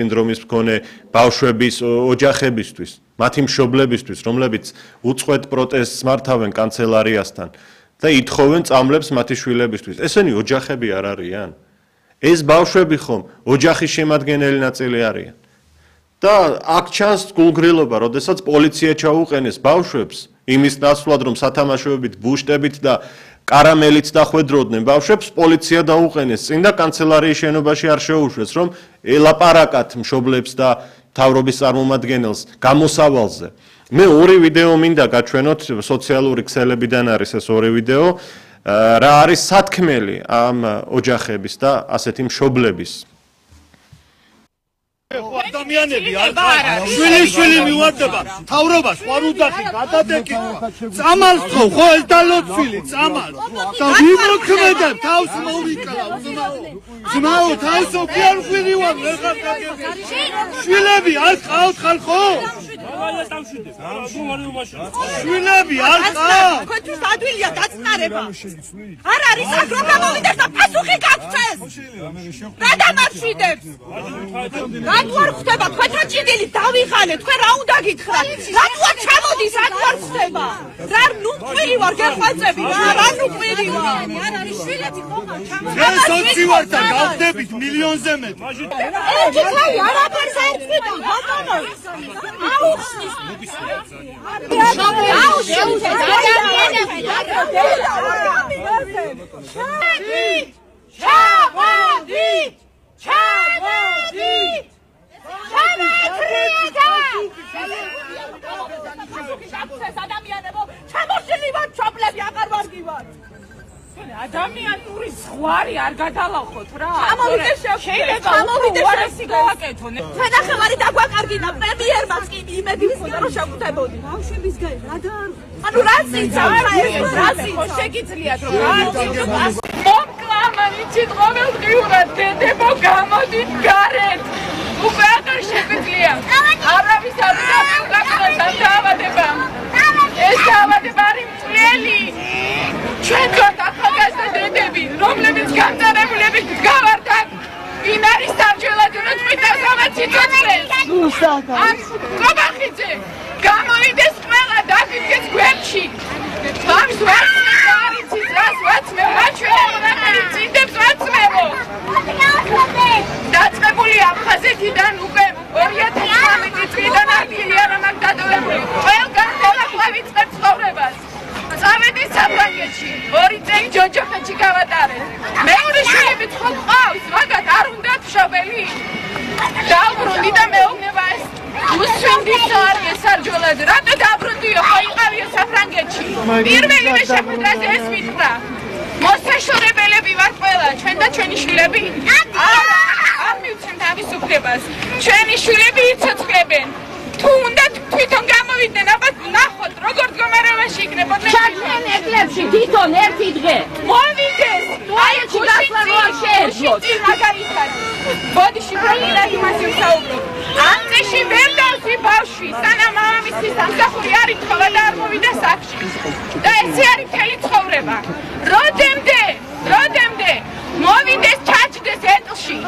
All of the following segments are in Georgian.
სინდრომის მქონე ბავშვების ოჯახებისთვის, მათი მშობლებისთვის, რომლებიც უწყვეტ პროტესტს მართავენ კანცელარიასთან და ითხოვენ წამლებს მათი შვილებისთვის. ესენი ოჯახები არ არიან? ეს ბავშვები ხომ ოჯახის შემადგენელი ნაწილი არიან? და აქ ჩანს გულგრილობა, როდესაც პოლიცია ჩაუყენეს ბავშვებს იმის ნაცვლად, რომ სათამაშოებით ბუშტებით და კარამელით დახვედროდნენ ბავშვებს, პოლიცია დაუყენეს წინ და კანცელარიის შენობაში არ შეუშვეს, რომ ელაპარაკათ მშობლებს და მთავრობის წარმომადგენელს გამოსავალზე. მე ორი ვიდეო მინდა გაჩვენოთ, სოციალური ქსელებიდან არის ეს ორი ვიდეო, რა არის სათქმელი ამ ოჯახების და ასეთი მშობლების. ადამიანები არ შვილი მივარდება თავრობას ხარ უძახი გადადეკითხა წამალს ხო ეს დალოცვილი წამალს და ვიმოქმედებ თავს მოვიკლავ ძმაო თავს ოქიარ ხვირივარ ვეღარ გაგებია შვილები არ ყავთ ხალხო შვილები არ ყავთ თქვენთვის ადვილია დაწყარება არ არის აქ რომ გამოვიდეს და პასუხი გაგვცეს რა დამარშვიდებს რატო არ ხდება თქვენ რა ჭიდილი დავიღალეთ თქვენ რა უნდა გითხრათ რატო არ ჩამოდის რატო არ ხდება რა ნუ ყვირი ვარ გეხვეწები რა ნუ ყვირი ვარ არ არის შვილეთი ხომა ჩამოდის ეს სოცი ვარ და გავხდებით მილიონზე მეტ ერთი ხალხი არაფერს არ ცხიდა ბატონო აუხსნის ადამიანური ზღვარი არ გადალახოთ რა. შეიძლება უარესი გავაკეთონ. თანახმარი დაგვაკარგინა პრემიერმაც კი იმედი მქონდა რომ შევხვდებოდი. ბავშვების გაი რა და ანუ რა წიცა რა შეგიძლიათ რომ მომკლამანი ჩიტყობელ ღიურად დედებო გამოდით გარეთ. უკვე აღარ შეგვიძლია. არავის არ გაგაკეთოს დაავადება. ეს დაავადება არის მწველი. ჩვენ ვართ ახალგაზრდა დედები, რომლებიც განწარებულებით გავართ აქ. ვინ არის სამჯელად რომ წვითავს ამათ სიცოცხლეს? ამ კობახიძე გამოვიდეს ყველა დაგიდგეს გვერდში. თავს ვაცმევ არის რას ვაცმევ რაჩვენებო ნახევარი წინდებს ვაცმევო. დაწყებული აფხაზეთიდან უკვე 2019 წლიდან არქილია რომ აქ დადოებული. ყველგან ხელახლა ვიწყებ ცხოვრებას. წავედი საფრანგეთში, 2 წელი ჯოჯოხეთში გავატარეთ. მეორე შვილებიც ხო ყავს, მაგათ არ უნდათ მშობელი? დაუბრუნდი და მეუბნება ეს უსვინდის არის ესარჯოლად. რატო დაბრუნდიო, ხო იყავიო საფრანგეთში. პირველივე შეხვედრაზე ეს მითხრა. მოსაშორებელები ვართ ყველა, ჩვენ და ჩვენი შვილები. არ მივცემთ თავისუფლებას. ჩვენი შვილები იცოცხლებენ. თუ უნდა თვითონ გამოვიდნენ, აბა ნახოთ როგორ მდგომარეობაში იქნებოდნენ. ჩართენ ეკლებში თვითონ ერთი დღე. მოვიდეს. აი გასვლა როარ შეეძლოთ. მაგალითად. ბოდიში პროინად იმას ვსაუბრობ. ამ წეში ვერ დავსვი ბავშვი, სანამ მამამისის სამსახური არ ითხოვა და არ მოვიდა სახლში. და ესე არის მთელი ცხოვრება. როდემდე მოვიდეს ჩაჭდეს ეტლში.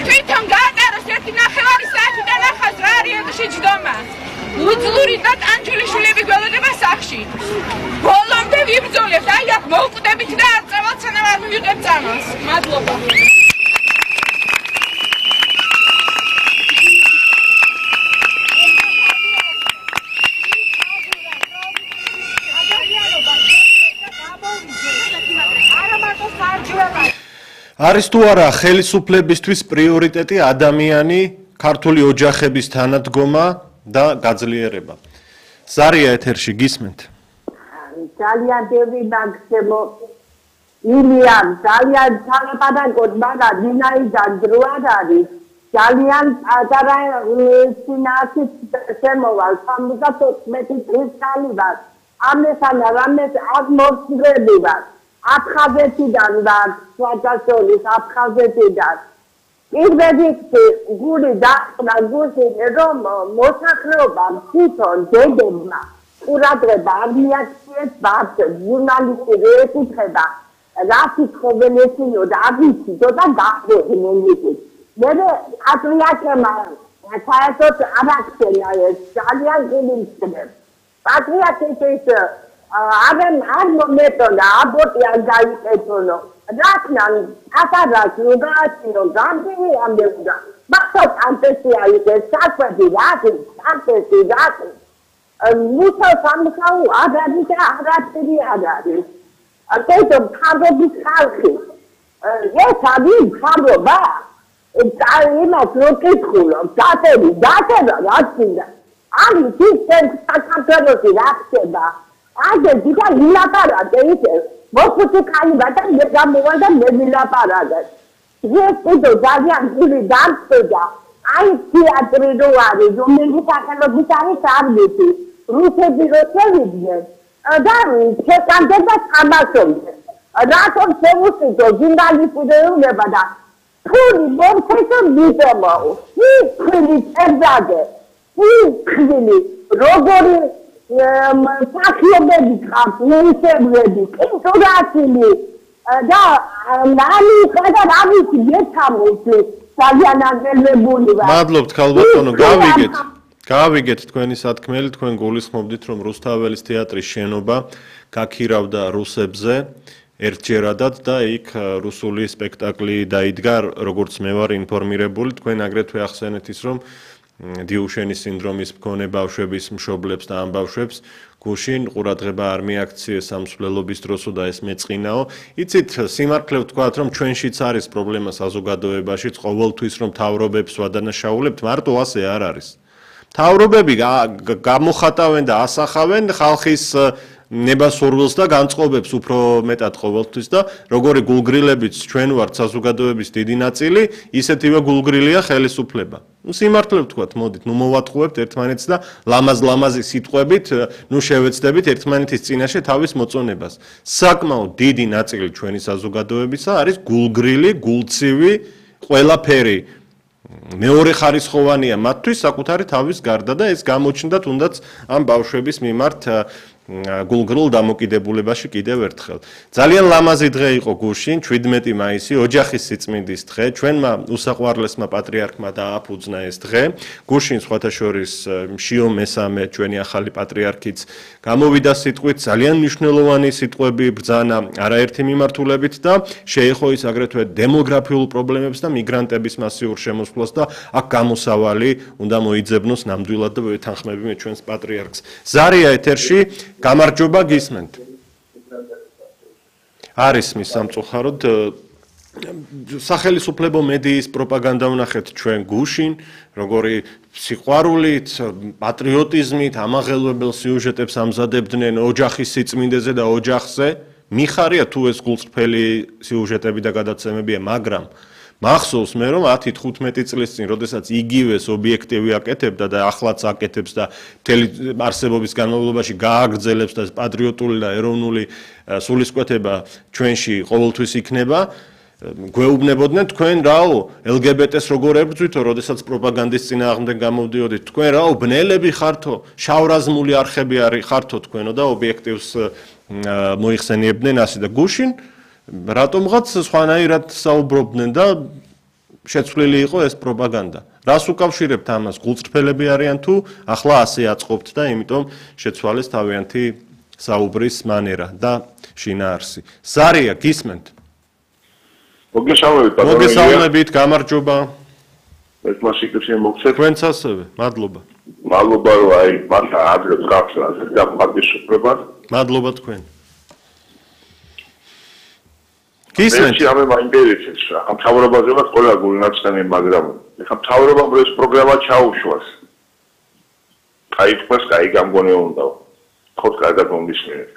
თვითონ გაატაროს 1.5 საათი და ნახავს რა არის ეტლში ჯდომა. უძლური და ტანჯული შვილები გველოდება სახლში. ბოლომდე ვიბრძოლებთ, აი აქ მოვკვდებით და არ წავალთ, სანამ არ მივიღებთ წამალს. მადლობა. არის თუ არა ხელისუფლებისთვის პრიორიტეტი ადამიანი, ქართული ოჯახების თანადგომა და გაძლიერება. ზარია ეთერში გისმენთ. ძალიან ბევრი მაგსემო ილია ძალიან თანაპარაკოდ მაგრამ დინაიდან დრო არ არის. ძალიან პატარა სინათი შემოვალ 74 წლის ხალი ვარ. ამესან რამეს აქ მოსწრები ვარ. აფხაზეთიდან ვარ, სვაჭაშორის აფხაზეთიდან. პირველი გული დაწყდა გულში რომ მოსახლეობა თვითონ დედებმა ყურადღება არ მიაქციეს ბავშვებს, ჟურნალისტი ვერ ეკითხება რა სიტყვები ესინო და არ ვიცით და დახვეწდნენ. მე პატრიარქმა საერთოდ არ აქცია ეს ძალიან გულისხმობს. პატრიარქის ის არ მომეტონა აბორტი არ გაიკეთონო. რატნან აკადას უგააციო გამბივი ამდეუდა. მახსოვს ანტესია ის საკვები რატი ანტესი რატი მუსა სამსაუ აგარი და აგარი აგარი. Acești oameni calci. E sabi xaroba. Ima crocicolo, datele, rațină. Ani sistem sacapelul rațeba. Ade dica la parade ite. Vă puteți cai bata de gamoada de la parade. Este de Dalian ili danțega. Ai teatru doare, domnul Sacalo bitare sabiti. Ruse birosevidne. Dar ce canteza amașonte. Raton se usită, zindali pudeune bada. Puri bom să bitemo. Ni crili ezade. Ni crili rogori sachiobedi cap, nisebedi. Intoratili. Da, nani kada ravi yetamutli. Sagianagellebuli. მადლობთ ქალბატონო, გავიგეთ თქვენი სათქმელი, თქვენ გულისხმობდით, რომ რუსთაველის თეატრის შენობა გაქირავდა რუსებზე ერთჯერადად და იქ რუსული სპექტაკლი დაიდგა, როგორც მე ვარ ინფორმირებული, თქვენ აგრეთვე ახსენეთ ის, რომ დიუშენის სინდრომის მქონე ბავშვების მშობლებს და ამ ბავშვებს გუშინ ყურადღება არ მიაქციეს სამსვლელობის დროსო და ეს მეწყინაო. იცით, სიმართლე ვთქვათ, რომ ჩვენშიც არის პრობლემა საზოგადოებაში, ყოველთვის რომ თავრობებს ვადანაშაულებთ, მარტო ასე არ არის. თავრობები გამოხატავენ და ასახავენ ხალხის ნებასურვილს და განწყობებს უფრო მეტად ყოველთვის და როგორი გულგრილებიც ჩვენ ვართ საზოგადოების დიდი ნაწილი, ისეთივე გულგრილია ხელისუფლება. სიმართლე ვთქვათ, მოდით, მოვატყუებთ ერთმანეთს და ლამაზ-ლამაზი სიტყვებით, შევეცდებით ერთმანეთის წინაშე თავის მოწონებას. საკმაოდ დიდი ნაწილი ჩვენი საზოგადოებისა არის გულგრილი, გულცივი, ყველაფერი მეორე ხარისხოვანია მათთვის საკუთარი თავის გარდა და ეს გამოჩნდა თუნდაც ამ ბავშვების მიმართ გულგრილ დამოკიდებულებაში კიდევ ერთხელ. ძალიან ლამაზი დღე იყო გუშინ, 17 მაისი, ოჯახის სიწმინდის დღე. ჩვენმა უსაყვარლესმა პატრიარქმა დააფუძნა ეს დღე. გუშინ სხვათა შორის შიო მესამე ჩვენი ახალი პატრიარქიც გამოვიდა სიტყვით, ძალიან მნიშვნელოვანი სიტყვები ბრძანა არაერთი მიმართულებით და შეეხო ის აგრეთვე დემოგრაფიულ პრობლემებს და მიგრანტების მასიურ შემოსვლას და აქ გამოსავალი უნდა მოიძებნოს ნამდვილად და ვეთანხმები ჩვენს პატრიარქს. ზარია ეთერში გამარჯობა გისმენთ. არის მის სამწუხაროდ სახელისუფლებო მედიის პროპაგანდა ვნახეთ ჩვენ გუშინ, როგორი სიყვარულით, პატრიოტიზმით ამაღელვებელ სიუჟეტებს ამზადებდნენ ოჯახის სიწმინდეზე და ოჯახზე. მიხარია თუ ეს გულწრფელი სიუჟეტები და გადაცემებია, მაგრამ მახსოვს მე რომ 10-15 წლის წინ, როდესაც იგივეს ობიექტივი აკეთებდა და ახლაც აკეთებს და მთელი არსებობის განმავლობაში გააგრძელებს და პატრიოტული და ეროვნული სულისკვეთება ჩვენში ყოველთვის იქნება, გვეუბნებოდნენ თქვენ რაო LGBT-ს როგორ ებრძვითო, როდესაც პროპაგანდის წინააღმდეგ გამოვდიოდით, თქვენ რაო ბნელები ხართო, შავრაზმული არხები ხართო თქვენო და ობიექტივს მოიხსენიებდნენ ასე და გუშინ რატომღაც სხვანაირად საუბრობდნენ და შეცვლილი იყო ეს პროპაგანდა. რას უკავშირებთ ამას? გულწრფელები არიან თუ ახლა ასე აწყობთ და იმიტომ შეცვალეს თავიანთი საუბრის მანერა და შინაარსი. ზარია, გისმენთ? მოგესალმებით, გამარჯობა. ეს მასიკებში მოგცეთ. თქვენც ასევე, მადლობა. მადლობა რომ აი მართლა ადრე გახსნათ და მაგისუფლება. მადლობა თქვენ. გისმენთ? მე მაინტერესებს რა. ამ თავრობაზეවත් ყველა გულნაცდენი, მაგრამ ეხა თავრობამ ეს პროგრამა ჩაუშვას. აი თქვენს კაი გამგონე უნდა. ხო კარგად მომისმენთ.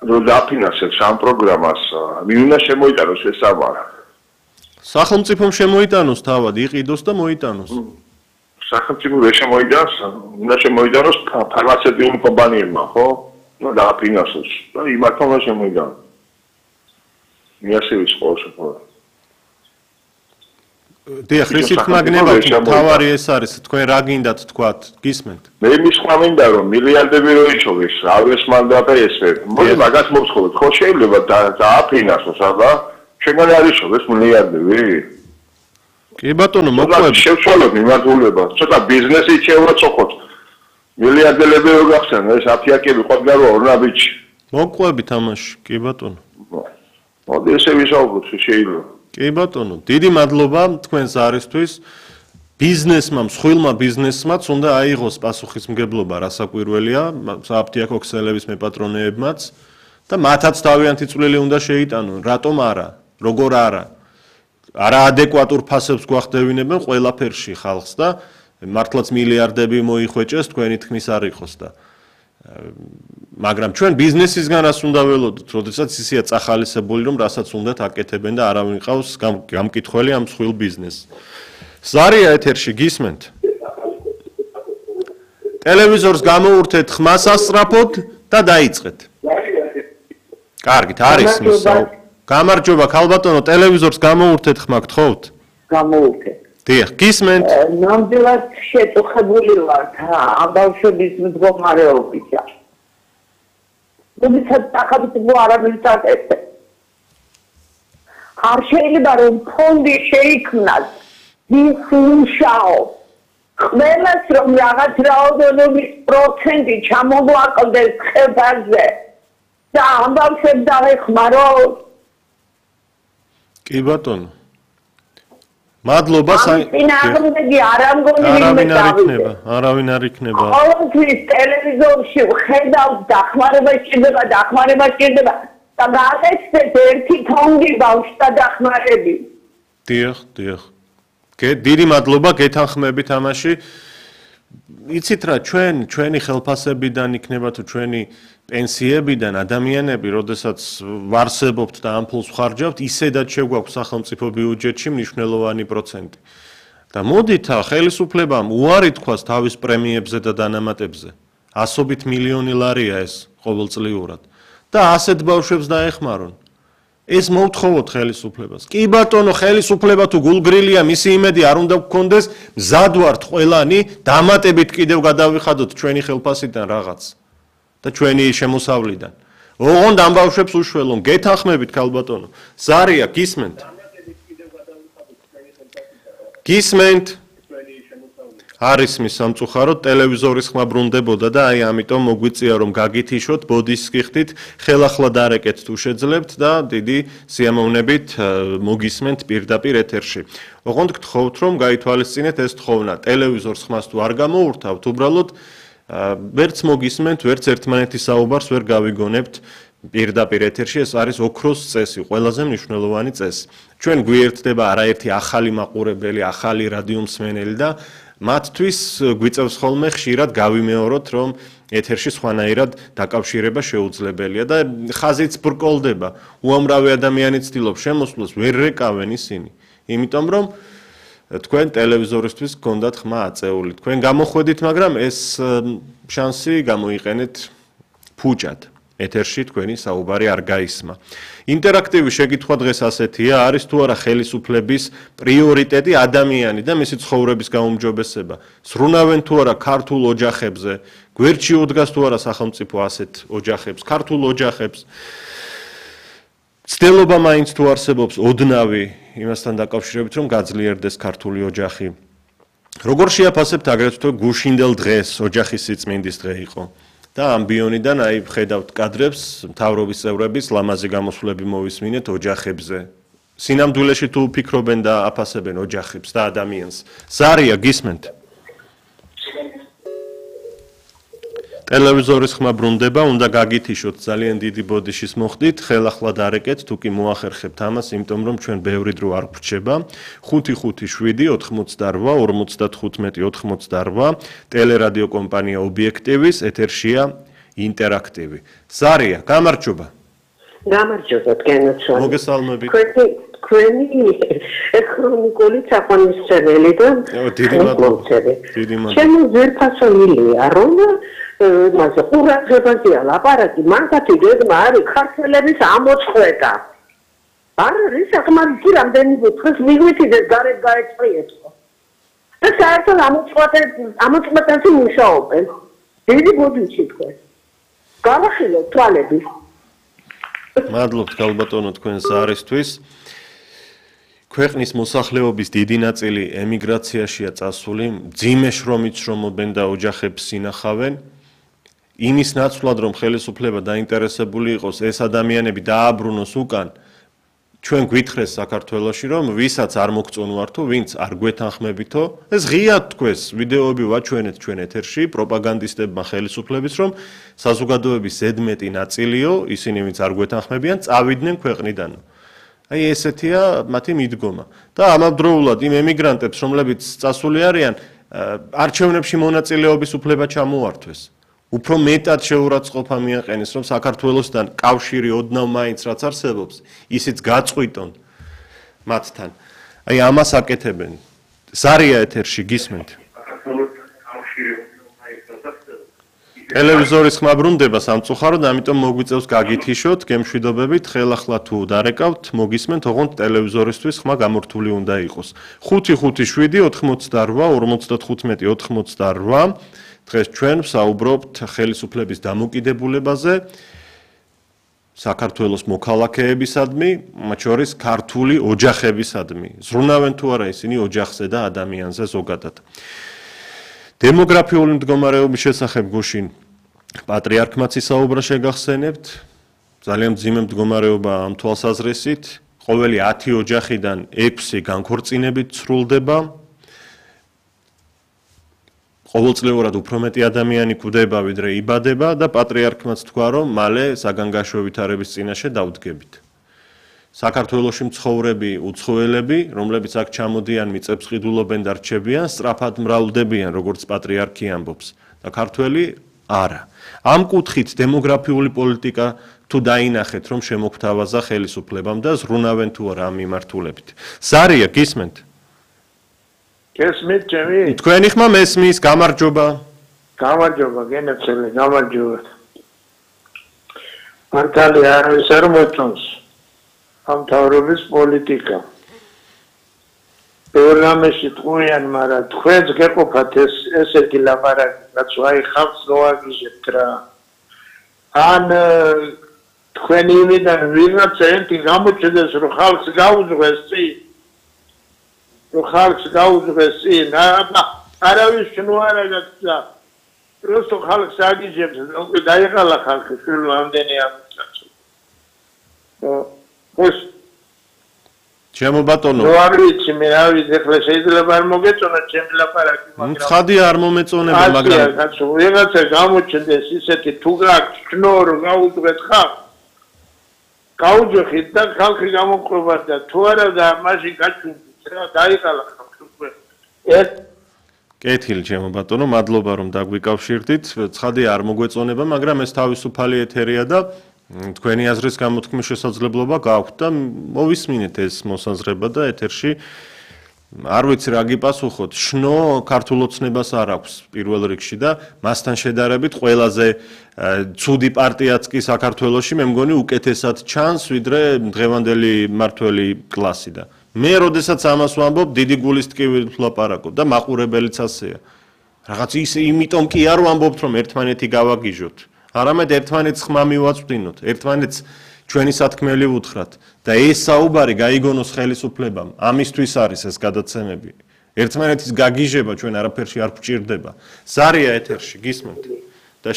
რომ დაფინანსებს ამ პროგრამას, ვინ უნდა შემოიტანოს ეს ამარა? სახელმწიფომ შემოიტანოს თავად, იყიდოს და მოიტანოს. სახელმწიფო ვერ შემოიტანოს, უნდა შემოიტანოს ფარმაცევტული კომპანიებმა, ხო? ნუ დაფინანსოს და იმათმა უნდა შემოიტანოს. მიასევის ყოველშაბათს. დიახ, რისით მაგნებად თავარი ეს არის, თქვენ რა გინდათ თქვათ, გისმენთ? მე მისხმა მინდა რომ მილიარდები რო იშოვეს, ავეს მანდატა ესვე. მოდი მაგას მოვსხოვოთ, ხო შეიძლება დააფინანსოს, აბა ჩვენგან არის ეს მილიარდები? კი ბატონო, მოყვებით. შევცვალოთ მიმართულება. ცოტა ბიზნესი შევაწოხოთ. მილიარდელები რო გახსენ, ეს აფიაკები ყოდგა რო ორნაბიჩი. მოყვებით ამაში, კი ბატონო. მოდი ესე ვისაუბროთ, შეიძლება. კი ბატონო, დიდი მადლობა თქვენს არისთვის. ბიზნესმა, მსხვილმა ბიზნესმაც უნდა აიღოს პასუხისმგებლობა, რასაკვირველია, საფთიაქო ქსელების მეპატრონეებმაც და მათაც თავიანთი წვლილი უნდა შეიტანონ. რატომ არა? როგორ არა? არაადეკვატურ ფასებს გვახდევინებენ ყველაფერში ხალხს და მართლაც მილიარდები მოიხვეჭეს თქვენი თქმის არ იყოს და მაგრამ ჩვენ ბიზნესისგან რას უნდა ველოდოთ, როდესაც ისეა წახალისებული, რომ რასაც უნდათ აკეთებენ და არავინ ყავს გამკითხველი ამ მსხვილ ბიზნესს. ზარია ეთერში გისმენთ? ტელევიზორს გამოურთეთ ხმას ასწრაფოთ და დაიწყეთ. კარგით, არის მისაო. გამარჯობა, ქალბატონო, ტელევიზორს გამოურთეთ ხმა გთხოვთ? გამოურთეთ. დიახ, გისმენთ? ნამდვილად შეწუხებული ვარ ამ ბავშვების მდგომარეობით. როდესაც ახალწლო არავის აკეთებს. არ შეიძლება რომ ფონდი შეიქმნას ისუშაო. ყველას რომ რაღაც რაოდენობის პროცენტი ჩამოგვაკლდეს ხებაზე და ამ ბავშვებს დავეხმაროთ. კი ბატონო. მადლობა წინააღმდეგი არ ამგონი არავინ არ იქნება. ყოველთვის ტელევიზორში ვხედავთ დახმარება სჭირდება და გააკეთეთ ერთი თონგი ბავშვთა დახმარები. დიახ. დიდი მადლობა გეთანხმებით ამაში. იცით რა, ჩვენი ხელფასებიდან იქნება თუ ჩვენი პენსიებიდან ადამიანები, როდესაც ვარსებობთ და ამ ფულს ვხარჯავთ, ისედაც შეგვაქვს სახელმწიფო ბიუჯეტში მნიშვნელოვანი პროცენტი. და მოდით ხელისუფლებამ უარი თქვას თავის პრემიებზე და დანამატებზე. ასობით მილიონი ლარია ეს ყოველწლიურად. და ასეთ ბავშვებს დაეხმარონ. ეს მოვთხოვოთ ხელისუფლებას. კი ბატონო, ხელისუფლება თუ გულგრილია, მისი იმედი არ უნდა გქონდეს, მზად ვართ ყველანი, დამატებით კიდევ გადავიხადოთ ჩვენი ხელფასიდან რაღაც და ჩვენი შემოსავლიდან. ოღონდ ამ ბავშვებს უშველონ, გეთანხმებით ქალბატონო. ზარია, გისმენთ? გისმენთ? არის მის სამწუხაროდ ტელევიზორის ხმა ბრუნდებოდა და აი ამიტომ მოგვიწია რომ გაგითიშოთ, ბოდის გიხდით, ხელახლა დარეკეთ თუ შეძლებთ და დიდი სიამოვნებით მოგისმენთ პირდაპირ ეთერში. ოღონდ გთხოვთ რომ გაითვალისწინეთ ეს თხოვნა, ტელევიზორს ხმას თუ არ გამოურთავთ, უბრალოდ ვერც მოგისმენთ, ვერც ერთმანეთის საუბარს ვერ გავიგონებთ პირდაპირ ეთერში, ეს არის ოქროს წესი, ყველაზე მნიშვნელოვანი წესი. ჩვენ გვიერთდება არაერთი ახალი მაყურებელი, ახალი რადიომსმენელი და მათთვის გვიწევს ხოლმე ხშირად გავიმეოროთ, რომ ეთერში სხვანაირად დაკავშირება შეუძლებელია და ხაზიც ბრკოლდება. უამრავი ადამიანი ცდილობს შემოსვლას, ვერ რეკავენ ისინი. იმიტომ რომ თქვენ ტელევიზორისთვის გქონდათ ხმა აწეული. თქვენ გამოხვედით, მაგრამ ეს შანსი გამოიყენეთ ფუჭად. ეთერში თქვენი საუბარი არ გაისმა. ინტერაქტივი შეკითხვა დღეს ასეთია, არის თუ არა ხელისუფლების პრიორიტეტი ადამიანი და მისი ცხოვრების გაუმჯობესება. სრუნავენ თუ არა ქართულ ოჯახებზე, გვერდში უდგას თუ არა სახელმწიფო ასეთ ოჯახებს, ქართულ ოჯახებს. ცდილობა მაინც თუ არსებობს ოდნავი იმასთან დაკავშირებით, რომ გაძლიერდეს ქართული ოჯახი. როგორ შეაფასებთ აგრეთვე გუშინდელ დღეს ოჯახის სიწმინდის დღე იყო? და ამბიონიდან აი ხედავთ კადრებს, მთავრობის წევრების ლამაზი გამოსვლები მოვისმინეთ ოჯახებზე. სინამდვილეში თუ ფიქრობენ და აფასებენ ოჯახებს და ადამიანს. ზარია, გისმენთ? ტელევიზორის ხმა ბრუნდება, უნდა გაგითიშოთ, ძალიან დიდი ბოდიშის მოხდით, ხელახლა დარეკეთ, თუ კი მოახერხებთ ამას, იმიტომ რომ ჩვენ ბევრი დრო არ გვრჩება. 557-88-95-88 ტელერადიო კომპანია ობიექტივის ეთერშია ინტერაქტივი. ზარია, გამარჯობა. გამარჯობა, თქვენაცვალე. მოგესალმებით. თქვენი ქრონიკული საყვანისმცემელი და დიდი მადლობა. ჩემი ზერფასონილია, რომ მასე ყურადღებაზე ლაპარაკი, მანქათი გეგმა არის ქართველების ამოწყვეტა. არ არის საკმარისი რამდენი დღეს მიგვიწიდეს გარეთ გაეწყვიეთო. და საერთოდ ამოწყვეტაზე მუშაობენ. დიდი ბოდიში თქვენ. გავახილოთ თვალები. მადლობთ გალბატონო თქვენს არისთვის. ქვეყნის მოსახლეობის დიდი ნაწილი ემიგრაციაშია წასული, მძიმე შრომით შრომობენ და ოჯახებს ინახავენ. იმის ნაცვლად რომ ხელისუფლება დაინტერესებული იყოს ეს ადამიანები დააბრუნოს უკან, ჩვენ გვითხრეს საქართველოში რომ ვისაც არ მოგწონვართო, ვინც არ გვეთანხმებითო, ეს ღიად თქვეს, ვიდეოები ვაჩვენეთ ჩვენ ეთერში პროპაგანდისტებმა ხელისუფლების რომ საზოგადოების ზედმეტი ნაწილიო, ისინი ვინც არ გვეთანხმებიან, წავიდნენ ქვეყნიდან. აი ესეთია მათი მიდგომა. და ამავდროულად იმ ემიგრანტებს, რომლებიც წასული არიან, არჩევნებში მონაწილეობის უფლება ჩამოართვეს. უფრო მეტად შეურაცხყოფა მიაყენეს, რომ საქართველოსთან კავშირი ოდნავ მაინც რაც არსებობს, ისიც გაწყვიტონ მათთან. აი ამას აკეთებენ. ზარია ეთერში გისმენთ. ტელევიზორის ხმა ბრუნდება სამწუხაროდ, ამიტომ მოგვიწევს გაგითიშოთ, გემშვიდობებით, ხელახლა თუ დარეკავთ, მოგისმენთ, ოღონდ ტელევიზორისთვის ხმა გამორთული უნდა იყოს. 557 88 55 88 დღეს ჩვენ ვსაუბრობთ ხელისუფლების დამოკიდებულებაზე საქართველოს მოქალაქეებისადმი, მათ შორის ქართული ოჯახებისადმი. ზრუნავენ თუ არა ისინი ოჯახზე და ადამიანზე ზოგადად. დემოგრაფიული მდგომარეობის შესახებ გუშინ პატრიარქმაც ისაუბრა შეგახსენებთ. ძალიან მძიმე მდგომარეობა ამ თვალსაზრისით. ყოველი 10 ოჯახიდან 6 განქორწინებით სრულდება. ყოველწლიურად უფრო მეტი ადამიანი კვდება, ვიდრე იბადება და პატრიარქმაც თქვა, რომ მალე საგანგაშო ვითარების წინაშე დავდგებით. საქართველოში მცხოვრები უცხოელები, რომლებიც აქ ჩამოდიან, მიწებს ყიდულობენ და რჩებიან, სწრაფად მრავლდებიან, როგორც პატრიარქი ამბობს. და ქართველი არა. ამ კუთხით დემოგრაფიული პოლიტიკა თუ დაინახეთ, რომ შემოგთავაზა ხელისუფლებამ და ზრუნავენ თუ არა ამ მიმართულებით. ზარია, გისმენთ? გესმით ჩემი? თქვენი ხმა მესმის, გამარჯობა. გამარჯობა, გენაცელი, გამარჯობა. მართალი არის არ მოწონს ამ თავრობის პოლიტიკა. პროგრამაში თქვენ, მაგრამ თქვენს გეყოფათ ესეთი ლაპარაკი, რაც აი ხალხს მოაგიჟებთ რა. ან თქვენი იმიდან ვიღაცა ერთი გამოჩნდეს, რომ ხალხს გაუძღვეს წინ. რომ ხალხს გაუძღვეს წინ, არავის შნო არ აგაკცა. просто ხალხს აგიჟებს, უკვე დაიღალა ხალხი შვილო ამდენი ამცაც. ხოს ჩემო ბატონო. რო არ ვიცი მე რა ვიცი, ახლა შეიძლება არ მოგეწონა ჩემი ლაპარაკი, მაგრამ ცხადი არ მომეწონება, მაგრამ კაცო, ვიღაცა გამოჩნდეს ისეთი თუ გაქვს შნო რომ გაუძღვეთ ხალხს. გაუძღვით და ხალხი გამოყვება და თუ არა და მაშინ გაჩვენდით რა, დაიყალა ხალხი უკვე. კეთილი ჩემო ბატონო, მადლობა რომ დაგვიკავშირდით. ცხადი არ მოგვეწონება, მაგრამ ეს თავისუფალი ეთერია და თქვენი აზრის გამოთქმის შესაძლებლობა გაქვთ და მოვისმინეთ ეს მოსაზრება და ეთერში არ ვიცი რა გიპასუხოთ. შნო ქართულ ოცნებას არ აქვს პირველ რიგში და მასთან შედარებით ყველაზე ცუდი პარტიაც კი საქართველოში მე მგონი უკეთესად ჩანს, ვიდრე დღევანდელი მმართველი კლასი და მე როდესაც ამას ვამბობ, დიდი გულის ტკივით ვლაპარაკობ და მაყურებელიც ასეა. რაღაც ის იმიტომ კი არ ვამბობთ, რომ ერთმანეთი გავაგიჟოთ. არამედ ერთმანეთს ხმა მივაწვდინოთ, ერთმანეთს ჩვენი სათქმელი ვუთხრათ და ეს საუბარი გაიგონოს ხელისუფლებამ. ამისთვის არის ეს გადაცემები. ერთმანეთის გაგიჟება ჩვენ არაფერში არ გვჭირდება. ზარია ეთერში, გისმენთ? და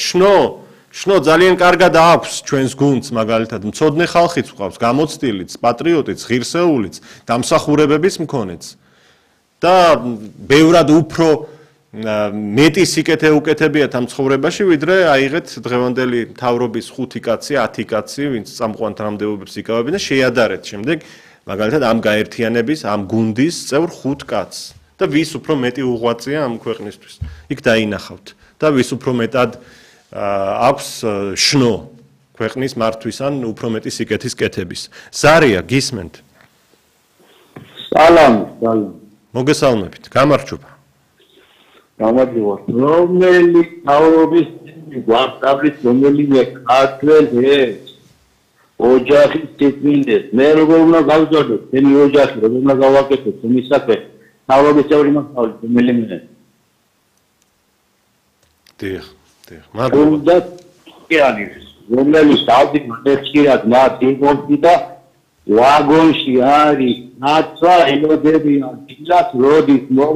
შნო ძალიან კარგად აქვს ჩვენს გუნდს, მაგალითად, მცოდნე ხალხიც ვყავს, გამოცდილიც, პატრიოტიც, ღირსეულიც, დამსახურებების მქონეც. და ბევრად უფრო მეტი სიკეთე უკეთებიათ ამ ცხოვრებაში, ვიდრე აიღეთ დღევანდელი მთავრობის 5 კაცი, 10 კაცი, ვინც წამყვან თანამდებობებს იკავებენ და შეადარეთ შემდეგ, მაგალითად, ამ გაერთიანების, ამ გუნდის წევრ 5 კაცს. და ვის უფრო მეტი უღვაწია ამ ქვეყნისთვის. იქ დაინახავთ. და ვის უფრო მეტად აქვს შნო ქვეყნის მართვის ან უფრო მეტი სიკეთის კეთების. ზარია, გისმენთ? სალამ. მოგესალმებით. გამარჯობა. გამარჯობა. რომელი თავრობის გვარტაბლის რომელიმე ქართველს ოჯახის თითმინდეს მე როგორ უნდა გავზარდო თემი ოჯახი როგორ უნდა გავაკეთო თემი საქმე თავრობის წევრი მასწავლე რომელიმე დიახ მადლობა და კი არის რომლებიც დავდიო ნეცკირად მათ იმონტი და ვაგონში არის ნაცვა ელოდებიან დილას როდის მოვა